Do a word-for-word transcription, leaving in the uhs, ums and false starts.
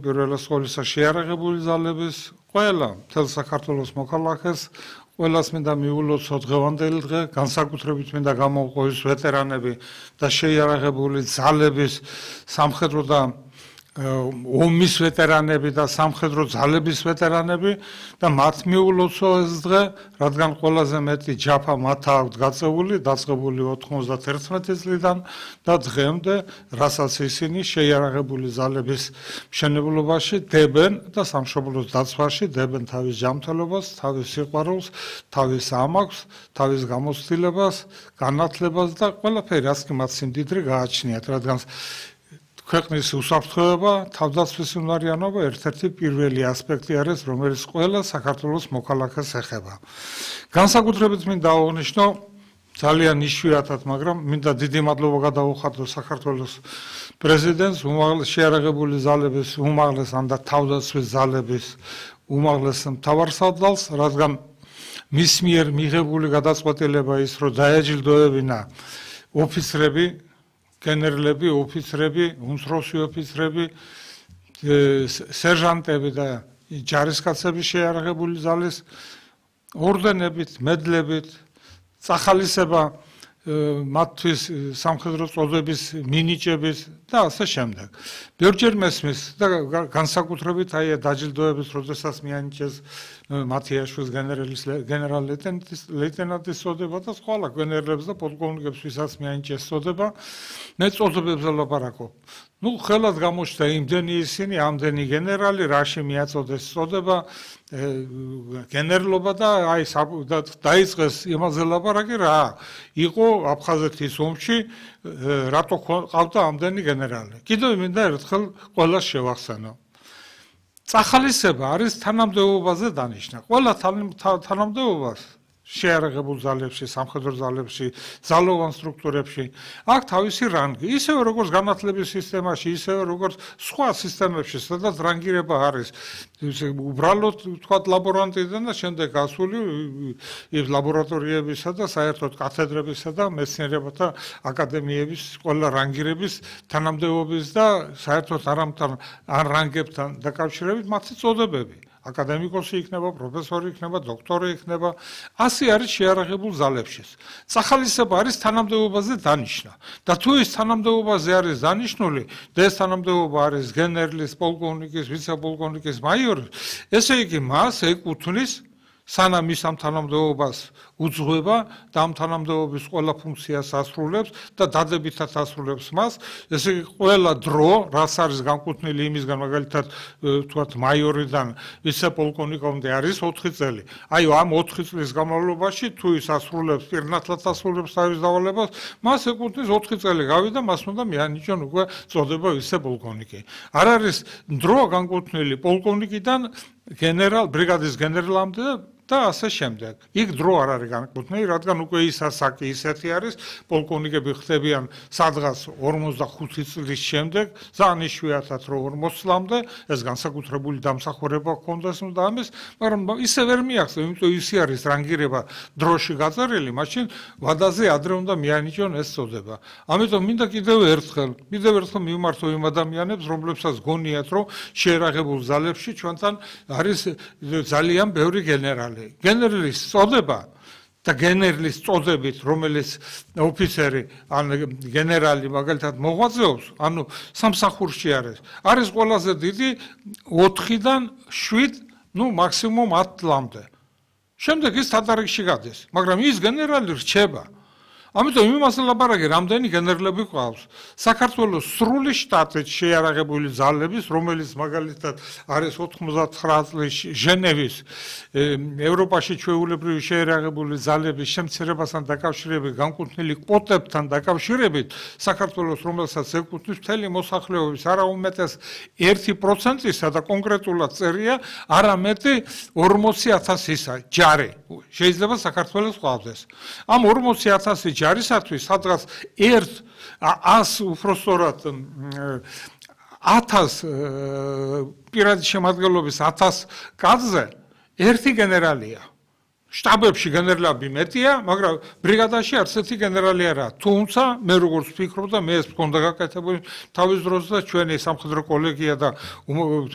პირველ სკოლისა შეარაღებული ძალების ყველა მთელ საქართველოს მოქალაქეს ყველას მინდა მიულოცო დღევანდელი დღე, განსაკუთრებით მინდა გამოვყოს ვეტერანები და შეიარაღებული ძალების სამხედრო და ომის ვეტერანები და სამხედრო ძალების ვეტერანები და მათ მიულოცო ეს დღე, რადგან ყველაზე მეტი ჯაფა მათ აქვს გაწეული, დაწყებული ოთხმოცდაერთი წლიდან და დღემდე, რასაც ისინი შეიარაღებული ძალების მშენებლობაში დებენ და სამშობლოს დაცვაში დებენ თავის ჯანმრთელობას, თავის სიყვარულს, თავის ამაქვს, თავის გამოცდილებას, განათლებას და ყველაფერი, რაც კი მათ სიმდიდრე გააჩნიათ, რადგან ქვეყნის უსაფრთხოება, თავდაცვის უნარიანობა ერთ-ერთი პირველი ასპექტი არის, რომელიც ყველა საქართველოს მოქალაქეს ეხება. განსაკუთრებით მინდა აღნიშნო ძალიან იშვიათად, მაგრამ მინდა დიდი მადლობა გადაუხადო საქართველოს პრეზიდენტს, უმაღლეს შეიარაღებული ძალების უმაღლეს და თავდაცვის ძალების უმაღლეს მთავარსარდალს, რადგან მის მიერ მიღებული გადაწყვეტილება ის, რომ დაეჯილდოებინა ოფიცრები, გენერლები, ოფიცრები, უმცროსი ოფიცრები, სერჟანტები და ჯარისკაცები შეიარაღებული ძალის ორდენებით, მედლებით, წახალისება მათთვის სამხედრო წოდების მინიჭების და ასე შემდეგ. ბევრჯერ მესმის და განსაკუთრებით აი დაჯილდოების, როდესაც მიანიჭეს მათიაშვილს გენერალ ლეიტენანტის წოდება და სხვა გენერლებს და პოლკოვნიკებს, ვისაც მიანიჭეს წოდება, მე წოდებებზე ვლაპარაკობ. ნუ ხელად გამოჩნდა იმდენი ისინი, ამდენი გენერალი, რაში მიაწოდეს წოდება, გენერლობა და აი დაიწყეს იმაზე ლაპარაკი რა იყო აფხაზეთის ომში, რატო ყავდა ამდენი გენერალი. კიდევ მინდა ერთხელ ყველას შევახსენო. წახალისება არის თანამდებობაზე დანიშნა. ყველა თანამდებობას შეიარაღებულ ძალებში, სამხედრო ძალებში, ძალოვან სტრუქტურებში აქვს თავისი რანგი. ისევე როგორც განათლების სისტემაში, ისევე როგორც სხვა სისტემებში, სადაც რანგირება არის. უბრალოდ თქვათ ლაბორანტიდან და შემდეგ გასული ლაბორატორიებისა და საერთოდ კათედრებისა და მეცნიერებათა აკადემიების ყველა რანგირების თანამდებობის და საერთოდ არ რანგებთან დაკავშირებით მათი წოდებები. აკადემიკოსი იქნება, პროფესორი იქნება, დოქტორი იქნება, ასე არის შეიარაღებულ ძალებშიც. წახალისება არის თანამდებობაზე დანიშნა. და თუ ეს თანამდებობაზე არის დანიშნული, და ეს თანამდებობა არის გენერლის, პოლკოვნიკის, ვიცე-პოლკოვნიკის, მაიორის, ესე იგი მას ეკუთვნის სანამ ის ამ თანამდებობას უძღვება და ამ თანამდებობის ყველა ფუნქციას ასრულებს და დადებითად ასრულებს მას, ესე იგი ყველა დრო, რაც არის განკუთვნილი იმისგან, მაგალითად ვთქვათ მაიორიდან ვიცე-პოლკოვნიკამდე არის ოთხი წელი. აი ამ ოთხი წლის განმავლობაში თუ ის ასრულებს, პირნათლად ასრულებს თავის დავალებას, მას ეკუთვნის ოთხი წელი გავიდა, მას უნდა მიანიჭონ უკვე წოდება ვიცე-პოლკოვნიკი. არ არის დრო განკუთვნილი პოლკოვნიკიდან გენერალ, ბრიგადის გენერლამდე და ასე შემდეგ. იქ დრო არ არის განკუთვნილი, რადგან უკვე ის ასაკი ისეთი არის, პოლკოვნიკები ხდებიან სადღაც ორმოცდახუთი წლის შემდეგ, ძალიან იშვიათად რომ ორმოცი წლამდე, ეს განსაკუთრებული დამსახურება ჰქონდეს და ამის, მაგრამ ისე ვერ მიაღწევ, იმიტომ ისე არის რანგირება დროში გაწერილი, მაშინ ვადაზე ადრე უნდა მიანიჭონ ეს წოდება. ამიტომ მინდა კიდევ ერთხელ, კიდევ ერთხელ მივმართო იმ ადამიანებს, რომლებსაც გონიათ, რომ შეიარაღებულ ძალებში ჩვენთან არის ძალიან ბევრი გენერალი. გენერლის წოდება და გენერლის წოდებით, რომელიც ოფიცერი ან გენერალი მაგალითად მოღვაწეობს, ანუ სამსახურში არის, არის ყველაზე დიდი ოთხიდან შვიდ, ნუ მაქსიმუმ ათ წლამდე. შემდეგ ის თადარიგში გადის, მაგრამ ის გენერალი რჩება. ამიტომ იმას ლაპარაკი, რამდენი გენერლები ყავს. საქართველოს სრული შტატით შეიარაღებული ძალების, რომელიც მაგალითად არის ოთხმოცდათხრა წლის ჟენევის ევროპაში ჩვეულებრივი შეიარაღებული ძალების შემცირებასთან დაკავშირებით განკუთვნილი კვოტებთან დაკავშირებით, საქართველოს რომელსაც ეკუთვნის მთელი მოსახლეობის არა უმეტეს ერთი პროცენტისა და კონკრეტულად წერია არამეტი ორმოცი ათასისა ჯარი. შეიძლება საქართველოს ყავდეს. ამ ორმოცი ათასი ჯარისათვის სადღაც ერთ ას უпростоრად ათას პირადი შემადგენლობის ათას კაცზე ერთი გენერალია. შტაბებში გენერლები მეტია, მაგრამ ბრიგადაში არც ერთი გენერალი არა. თუმცა მე როგორც ვფიქრობ და მე ეს მქონდა გაკეთებული თავის დროზე და ჩვენი სამხედრო კოლეგია და